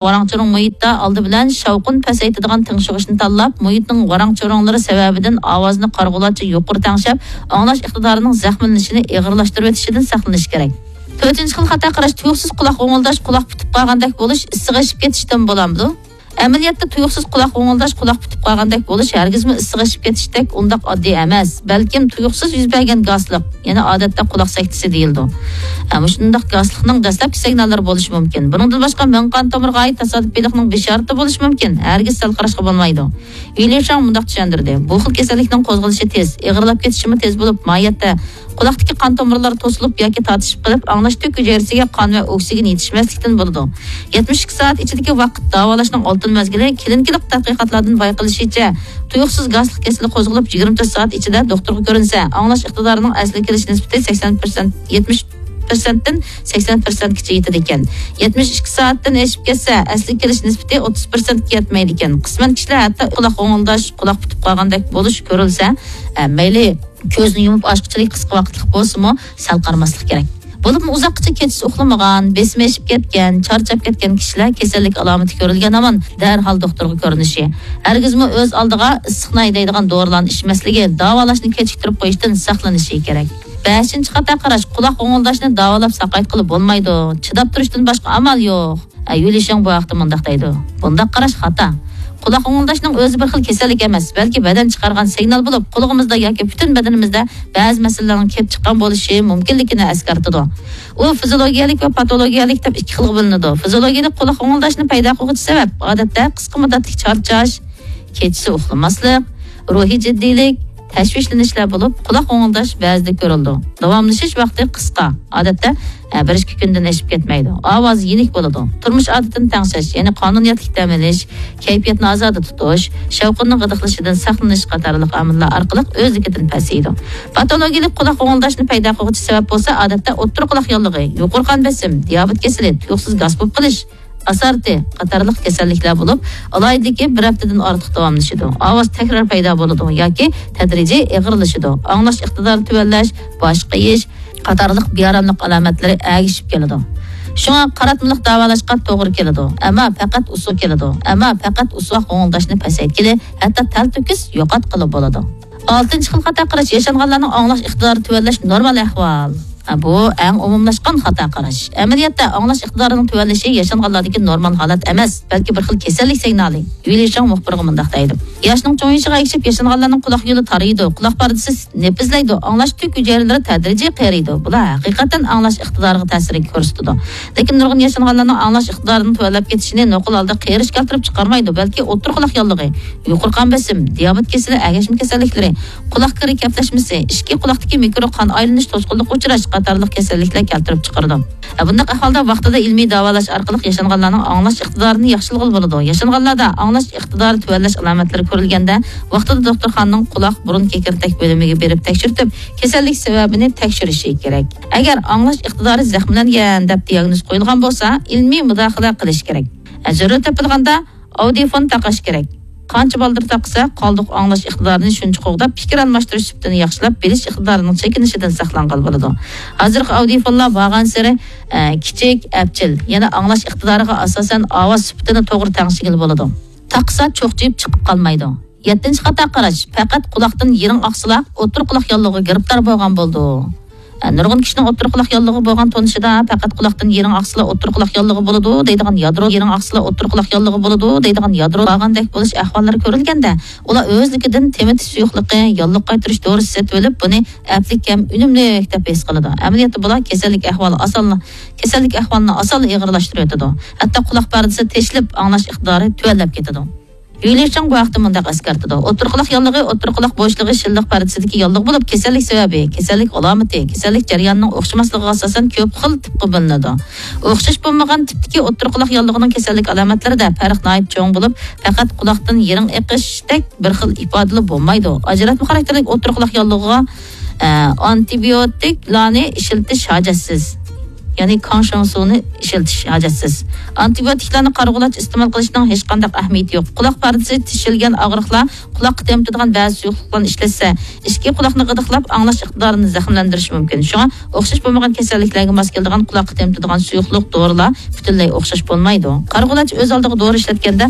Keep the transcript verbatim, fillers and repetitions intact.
ۋاراڭ-چۇرۇڭ مۇھىتتا ئالدى بىلەن شاۋقۇن پەسەيتىدىغان تىڭشىغۇچنى تاللاپ، مۇھىتنىڭ ۋاراڭ-چۇرۇڭلىرى سەۋەبىدىن ئاۋازنى قارىغۇلارچە يۇقىرى تەڭشەپ، ئاڭلاش ئىقتىدارىنىڭ زەخىملىنىشىنى ئېغىرلاشتۇرۇۋېتىشىدىن ساقلىنىش كېرەك. تۆتىنچى خىل خاتا قاراش، تۇيۇقسىز قۇلاق غوڭۇلداش، قۇلاق پۈتۈپ قالغاندەك بولۇش، ئىسسىق ئېشىپ كېتىشتىن بولامدۇ؟ ئەمەلىيەتتە تۇيۇقسىز قۇلاق غوڭۇلداش، قۇلاق پۈتۈپ قالغاندەك بولۇش ھەرگىزمۇ ئىسسىق ئېشىپ كېتىشتەك ئۇنداق ئاددىي ئەمەس، بەلكىم تۇيۇقسىز يۈز بەرگەن گاسلىق، يەنى ئادەتتە قۇلاق سەكتىسى دېيىلىدۇ. ھە، مۇشۇنداق گاسلىقنىڭ دەسلەپكى سىگناللىرى بولۇشى مۇمكىن. بۇنىڭدىن باشقا مېڭە قان تومۇرىغا ئائىت تاسادىپىيلىقنىڭ بېشارىتى بولۇشى مۇمكىن، ھەرگىز سەل قاراشقا بولمايدۇ. يۈلى شاڭ مۇنداق چۈشەندۈردى، بۇ خىل كېسەللىكنىڭ قوزغىلىشى تېز، ئېغىرلاپ كېتىشىمۇ تېز بولۇپ، ماھىيەتتە قۇلاقتىكى قان تومۇرلار توسۇلۇپ ياكى تارتىشىپ قېلىپ، ئاڭلاش تۈك ھۈجەيرىسىگە قان ۋە ئوكسىگېن يېتىشمەسلىكتىن بولىدۇ. يەتمىش ئىككى سائەت ئىچىدىكى ۋاقىت داۋالاشنىڭ ئالتۇن مەزگىلى. كلىنىكىلىق تەتقىقاتلاردىن بايقىلىشىچە، تۇيۇقسىز گاسلىق كېسىلى قوزغىلىپ، يىگىرمە تۆت سائەت ئىچىدە دوختۇرغا كۆرۈنسە، ئاڭلاش ئىقتىدارىنىڭ ئەسلىگە كېلىش نىسبىتى سەكسەن پىرسەنت، يەتمىش پىرسەنتتىن سەكسەن پىرسەنتكىچە يېتىدىكەن. يەتمىش ئىككى سائەتتىن ئېشىپ كەتسە، ئەسلىگە كېلىش نىسبىتى ئوتتۇز پىرسەنتكە يەتمەيدىكەن. قىسمەن كىشىلەر ھەتتا قۇلاق غوڭۇلداش، قۇلاق پۈتۈپ قالغاندەك بولۇش كۆرۈلسە، ئە، مەيلى كۆزنى يۇمۇپ ئاچقۇچىلىك قىسقا ۋاقىتلىق بولسىمۇ، سەل قارىماسلىق كېرەك. بولۇپمۇ ئۇزاققىچە كېچىسى ئۇخلىمىغان، بېسىمى ئېشىپ كەتكەن، چارچاپ كەتكەن كىشىلەر كېسەللىك ئالامىتى كۆرۈلگەن ھامان دەرھال دوختۇرغا كۆرۈنۈشى، ھەرگىزمۇ ئۆز ئالدىغا ئىسسىقنى ھەيدەيدىغان دورىلارنى ئىچمەسلىكى، داۋالاشنى كېچىكتۈرۈپ قويۇشتىن ساقلىنىشى كېرەك. بەشىنچى خاتا قاراش، قۇلاق غوڭۇلداشنى داۋالاپ ساقايتقىلى بولمايدۇ، چىداپ تۇرۇشتىن باشقا ئامال يوق. ئە، يۈلى شېڭ بۇ ھەقتە مۇنداق دەيدۇ، بۇنداق قاراش خاتا. قۇلاق غوڭۇلداشنىڭ ئۆزى بىر خىل كېسەللىك ئەمەس، بەلكى بەدەن چىقارغان سىگنال بولۇپ، قۇلىقىمىزدا ياكى پۈتۈن بەدىنىمىزدە بەزى مەسىلىلەرنىڭ كېلىپ چىققان بولۇشى مۇمكىنلىكىنى ئەسكەرتىدۇ. ئۇ فىزىولوگىيەلىك ۋە پاتولوگىيەلىك دەپ ئىككى خىلغا بۆلۈنىدۇ. فىزىولوگىيەلىك قۇلاق غوڭۇلداشنى پەيدا قىلغۇچى سەۋەب، ئادەتتە، قىسقا مۇددەتلىك چارچاش، كېچىسى ئۇخلىماسلىق، روھىي جىددىيلىك، تەشۋىشلىنىشلەر بولۇپ، قۇلاق غوڭۇلداش بەزىدە كۆرۈلىدۇ. داۋاملىشىش ۋاقتى قىسقا، ئادەتتە، ئە، بىر ئىككى كۈندىن ئېشىپ كەتمەيدۇ. ئاۋازى يېنىك بولىدۇ. تۇرمۇش ئادىتىنى تەڭشەش، يەنى قانۇنىيەتلىك دەم ئېلىش، كەيپىياتنى ئازادە تۇتۇش، شاۋقۇننىڭ غىدىقلىشىدىن ساقلىنىش قاتارلىق ئامىللار ئارقىلىق ئۆزلۈكىدىن پەسىيىدۇ. پاتولوگىيەلىك قۇلاق غوڭۇلداشنى پەيدا قىلغۇچى سەۋەب بولسا، ئادەتتە، ئوتتۇرا قۇلاق ياللۇغى، يۇقىرى قان بېسىم، دىيابېت كېسىلى، تۇيۇقسىز گاس بولۇپ قېلىش، ئاسارىتى قاتارلىق كېسەللىكلەر بولۇپ، ئالاھىدىلىكى بىر ھەپتىدىن ئارتۇق داۋاملىشىدۇ. ئاۋاز تەكرار پەيدا بولىدۇ ياكى تەدرىجىي ئېغىرلىشىدۇ. ئاڭلاش ئىقتىدارى تۆۋەنلەش، باش قېيىش قاتارلىق بىئاراملىق ئالامەتلىرى ئەگىشىپ كېلىدۇ. شۇڭا قاراتمىلىق داۋالاشقا توغرا كېلىدۇ، ئەمما پەقەت ئۇسۇل كېلىدۇ، ئەمما پەقەت ئۇسۇل غوڭۇلداشنى پەسەيتكىلى، ھەتتا تەلتۆكۈس يوقاتقىلى بولىدۇ. ئالتىنچى خىل خاتا قاراش، ياشانغانلارنىڭ ئاڭلاش ئىقتىدارى تۆۋەنلەش نورمال ئەھۋال. بۇ ئەڭ ئومۇملاشقان خاتا قاراش. ئەمەلىيەتتە، ئاڭلاش ئىقتىدارىنىڭ تۆۋەنلىشى ياشانغانلاردىكى نورمال ھالەت ئەمەس، بەلكى بىر خىل كېسەللىك سىگنالى. يۈلى شاڭ مۇخبىرغا مۇنداق دەيدۇ، ياشنىڭ چوڭىيىشىغا ئەگىشىپ، ياشانغانلارنىڭ قۇلاق يولى تارىيىدۇ، قۇلاق پەردىسى نېپىزلەيدۇ، ئاڭلاش تۈك ھۈجەيرىلىرى تەدرىجىي قېرىيدۇ. بۇلار ھەقىقەتەن ئاڭلاش ئىقتىدارىغا تەسىر كۆرسىتىدۇ. لېكىن نۇرغۇن ياشانغانلارنىڭ ئاڭلاش ئىقتىدارىنىڭ تۆۋەنلەپ كېتىشىنى نوقۇل ھالدا قېرىش كەلتۈرۈپ چىقارمايدۇ، بەلكى ئوتتۇرا قۇلاق ياللۇغى، يۇقىرى قان بېسىم، دىيابېت كېسىلى، ئەگەشمە كېسەللىكلىرى، قۇلاق كىرى كەپلەشمىسى، ئىچكى قۇلاقتىكى مىكرو قان ئايلىنىش توسقۇنلۇققا ئۇچراش قاتارلىق كېسەللىكلەر كەلتۈرۈپ چىقىرىدۇ. بۇنداق ئەھۋالدا ۋاقتىدا ئىلمىي داۋالاش ئارقىلىق ياشانغانلارنىڭ ئاڭلاش ئىقتىدارىنى ياخشىلىغىلى بولىدۇ. ياشانغانلاردا ئاڭلاش ئىقتىدارى تۆۋەنلەش ئالامەتلىرى كۆرۈلگەندە، ۋاقتىدا دوختۇرخانىنىڭ قۇلاق، بۇرۇن، كېكىردەك بۆلۈمىگە بېرىپ تەكشۈرتۈپ، كېسەللىك سەۋەبىنى تەكشۈرۈشى كېرەك. ئەگەر ئاڭلاش ئىقتىدارى زەخىملەنگەن دەپ دىياگنوز قويۇلغان بولسا، ئىلمىي مۇداخىلە قىلىش كېرەك. زۆرۈر تېپىلغاندا، ئاۋدىيوفون تاقاش كېرەك. قانچە بالدۇر تاقىسا، قالدۇق ئاڭلاش ئىقتىدارىنى شۇنچە قوغداپ، پىكىر ئالماشتۇرۇش سۈپىتىنى ياخشىلاپ، بىلىش ئىقتىدارىنىڭ چېكىنىشىدىن ساقلانغىلى بولىدۇ. ھازىرقى ئاۋدىيوفونلار بارغانسېرى، ئە، كىچىك، ئەپچىل، يەنە ئاڭلاش ئىقتىدارىغا ئاساسەن ئاۋاز سۈپىتىنى توغرا تەڭشىگىلى بولىدۇ. تاقىسا چوقچىيىپ چىقىپ قالمايدۇ. يەتتىنچى خاتا قاراش، پەقەت قۇلاقتىن يىرىڭ ئاقسىلا، ئوتتۇرا قۇلاق ياللۇغىغا گىرىپتار بولغان بولىدۇ. ئە، نۇرغۇن كىشىنىڭ ئوتتۇرا قۇلاق ياللۇغى بولغان تونۇشىدا، پەقەت قۇلاقتىن يىرىڭ ئاقسىلا، ئوتتۇرا قۇلاق ياللۇغى بولىدۇ دەيدىغان يادرو، يىرىڭ ئاقسىلا، ئوتتۇرا قۇلاق ياللۇغى بولىدۇ دەيدىغان يادرو بارغاندەك بولۇش ئەھۋاللىرى كۆرۈلگەندە، ئۇلار ئۆزلۈكىدىن تېمىتىش سۇيۇقلۇقى، ياللۇغ قايتۇرۇش دورىسى سېتىۋېلىپ، بۇنى ئەپلىك ھەم ئۈنۈملۈك دەپ ھېس قىلىدۇ. ئەمەلىيەتتە بۇلار كېسەللىك ئەھۋالى ئاسانلا، كېسەللىك ئەھۋالىنى ئاسانلا ئېغىرلاشتۇرۇۋېتىدۇ. ھەتتا قۇلاق پەردىسى تېشىلىپ، ئاڭلاش ئىقتىدارى تۆۋەنلەپ كېتىدۇ. يۈلى چاڭ بۇ ھەقتە مۇنداق ئەسكەرتىدۇ، ئوتتۇرا قۇلاق ياللۇغى، ئوتتۇرا قۇلاق بوشلۇقى شىللىق پەردىسىدىكى ياللۇغ بولۇپ، كېسەللىك سەۋەبى، كېسەللىك ئالامىتى، كېسەللىك جەريانىنىڭ ئوخشىماسلىقىغا ئاساسەن كۆپ خىل تىپقا بۆلۈنىدۇ. ئوخشاش بولمىغان تىپتىكى ئوتتۇرا قۇلاق ياللۇغىنىڭ كېسەللىك ئالامەتلىرىدە پەرق ناھايىتى چوڭ بولۇپ، پەقەت قۇلاقتىن يىرىڭ ئېقىشتەك بىر خىل ئىپادىلا بولمايدۇ. ئاجراتما خاراكتېرلىك ئوتتۇرا قۇلاق ياللۇغىغا، ئە، ئانتىبىيوتىكلارنى ئىشلىتىش ھاجەتسىز. يەنى كاڭشاڭسۇنى ئىشلىتىش ھاجەتسىز. ئانتىبىيوتىكلارنى قارىغۇلارچە ئىستېمال قىلىشنىڭ ھېچقانداق ئەھمىيىتى يوق. قۇلاق پەردىسى تېشىلگەن ئاغرىقلار، قۇلاققا تېمىتىدىغان بەزى سۇيۇقلۇقلارنى ئىشلەتسە، ئىچكى قۇلاقنى غىدىقلاپ، ئاڭلاش ئىقتىدارىنى زەخىملەندۈرۈشى مۇمكىن. شۇڭا ئوخشاش بولمىغان كېسەللىكلەرگە ماس كېلىدىغان قۇلاققا تېمىتىدىغان سۇيۇقلۇق، دورىلار پۈتۈنلەي ئوخشاش بولمايدۇ. قارىغۇلارچە ئۆز ئالدىغا دورا ئىشلەتكەندە،